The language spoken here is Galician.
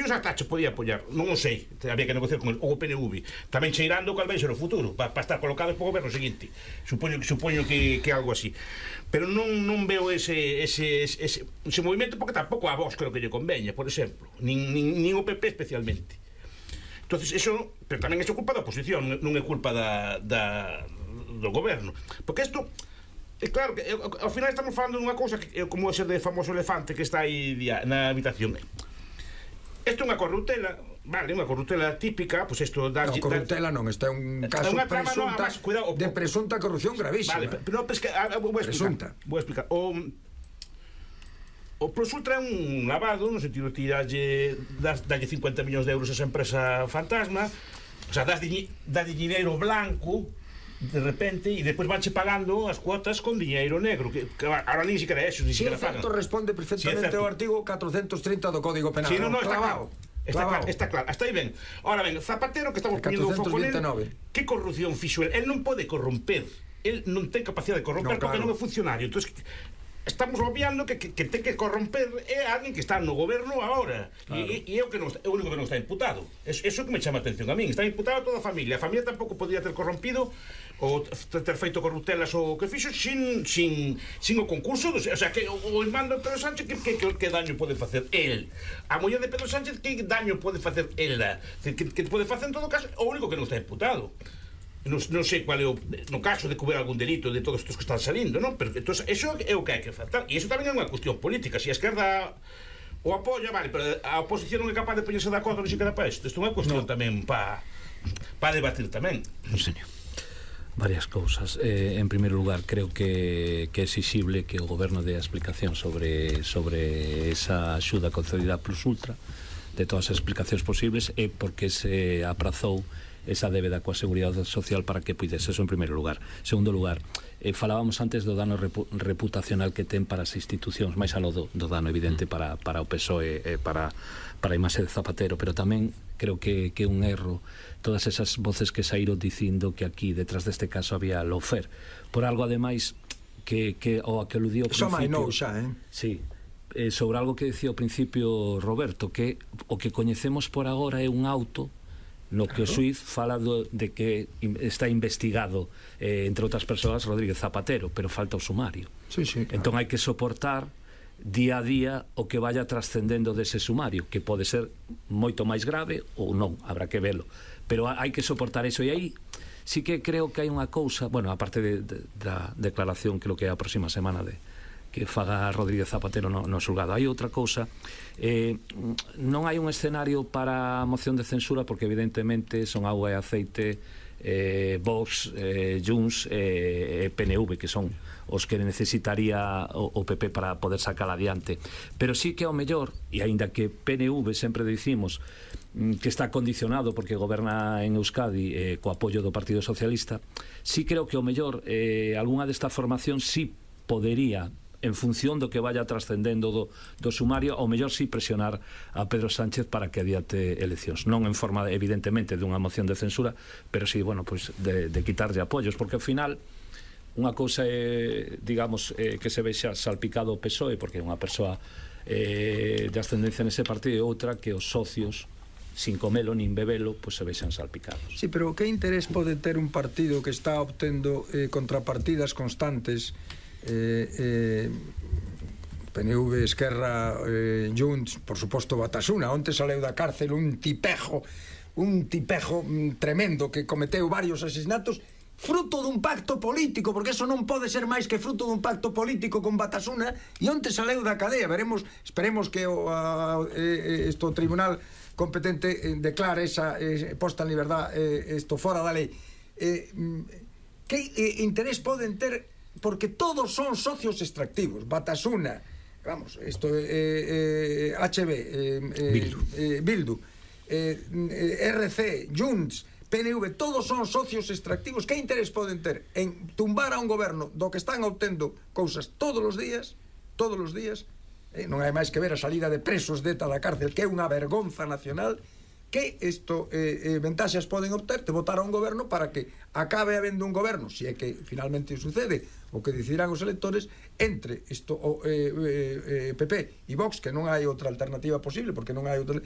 pensións ata che podía apoiar, non o sei, había que negociar con el, ou o PNV, tamén cheirando cal vai ser o futuro, para estar colocados para o goberno seguinte. Supoño que algo así. Pero non veo ese movimento, porque tampouco a Vox creo que lle conveña, por exemplo, nin o PP especialmente. Entonces eso, pero tamén é culpa da oposición, non é culpa do goberno, porque isto é claro que ao final estamos falando dunha cousa que é como ese de famoso elefante que está aí na habitación. Isto é unha corruptela, vale, unha corruptela típica, pois isto da corruptela non, isto é un caso de presunta corrupción gravísima. Vale, pero vou explicar. O Plus Ultra é un lavado, no sentido de dalle 50 millóns de euros a esa empresa fantasma, o sea, dalle dinheiro blanco de repente, e depois vanche pagando as cuotas con diñeiro negro, que ahora nin siquiera eso, nin siquiera pagan. Si é certo, responde perfectamente ao artigo 430 do Código Penal. Si, non, está claro. Está claro, hasta aí ben. Ahora ben, Zapatero, que estamos poniendo un foco nel, que corrupción fixo el? El non pode corromper, el non ten capacidade de corromper, porque non é funcionario. Entón, estamos obviando que ten que corromper é alguén que está no goberno agora, e é o único que non está imputado. Eso que me chama a atención a min. Está imputado toda a familia tampouco podría ter corrompido ou ter feito corruptelas ou que fixo sin o concurso o sea, que o irmán de Pedro Sánchez que daño pode facer el, a muller de Pedro Sánchez que daño pode facer ela, que pode facer en todo caso o único que non está imputado. Non sei qual é no caso de que hubiera algún delito de todos estos que están salindo, non? Pero entonces, eso é o que hai que tratar, e iso tamén é unha cuestión política. Se a esquerda o apoia, vale, pero a oposición non é capaz de poñerse de acordo ni siquiera para isto. Isto é unha cuestión tamén para debatir tamén. Non, señor. Varias cousas. En primeiro lugar, creo que é exixible que o goberno dé a explicación sobre esa axuda concedida a Plus Ultra, de todas as explicacións posibles, e porque se aprazou esa débeda coa Seguridade Social para que puidese. Eso en primeiro lugar. Segundo lugar, falábamos antes do dano reputacional que ten para as institucións, máis aló do dano evidente para o PSOE e para a imaxe de Zapatero, pero tamén creo que é un erro todas esas voces que saíron dicindo que aquí detrás deste caso había lofer, por algo ademais que o a que aludiu ao principio. Sí, sobre algo que dicía ao principio Roberto, que o que coñecemos por agora é un auto no que o xuiz fala de que está investigado, entre outras persoas, Rodríguez Zapatero, pero falta o sumario. Entón hai que soportar día a día o que vaya trascendendo dese sumario, que pode ser moito máis grave ou non, habrá que velo, pero hai que soportar eso. E aí sí que creo que hai unha cousa, bueno, aparte da declaración, creo que é a próxima semana que faga Rodríguez Zapatero no xulgado, hai outra cousa. Non hai un escenario para a moción de censura, porque evidentemente son auga e aceite Vox, Junts e PNV, que son os que necesitaría o PP para poder sacar adiante. Pero sí que ao mellor, e aínda que PNV sempre dicimos que está condicionado porque goberna en Euskadi co apoio do Partido Socialista, sí creo que ao mellor algunha desta formación sí podería, en función do que vaya trascendendo do sumario, ao mellor sí presionar a Pedro Sánchez para que adiante eleccións, non en forma evidentemente dunha moción de censura, pero sí, bueno, pois de quitarlle apoios, porque ao final unha cousa é, digamos, que se vexa salpicado o PSOE porque é unha persoa de ascendencia nese partido, e outra que os socios sin comelo nin bebelo, pois se vexan salpicados. Sí, pero que interés pode ter un partido que está obtendo contrapartidas constantes, PNV, Esquerra, Junts, por suposto Batasuna? Onte saleu da cárcel un tipejo tremendo que cometeu varios asesinatos fruto dun pacto político, porque eso non pode ser máis que fruto dun pacto político con Batasuna, e onte saleu da cadea. Esperemos que o tribunal competente declare esa posta en liberdade isto fora da lei. Que interés poden ter? Porque todos son socios extractivos. Batasuna, vamos, isto HB, Bildu, RC, Junts, PNV, todos son socios extractivos. Que interés poden ter en tumbar a un goberno do que están obtendo cousas todos os días? Non hai máis que ver a salida de presos de ETA da cárcel, que é unha vergonza nacional. Que ventaxas poden obter de votar a un goberno para que acabe habendo un goberno, se é que finalmente sucede o que decidirán os electores, entre isto o PP e Vox, que non hai outra alternativa posible, porque non hai outra,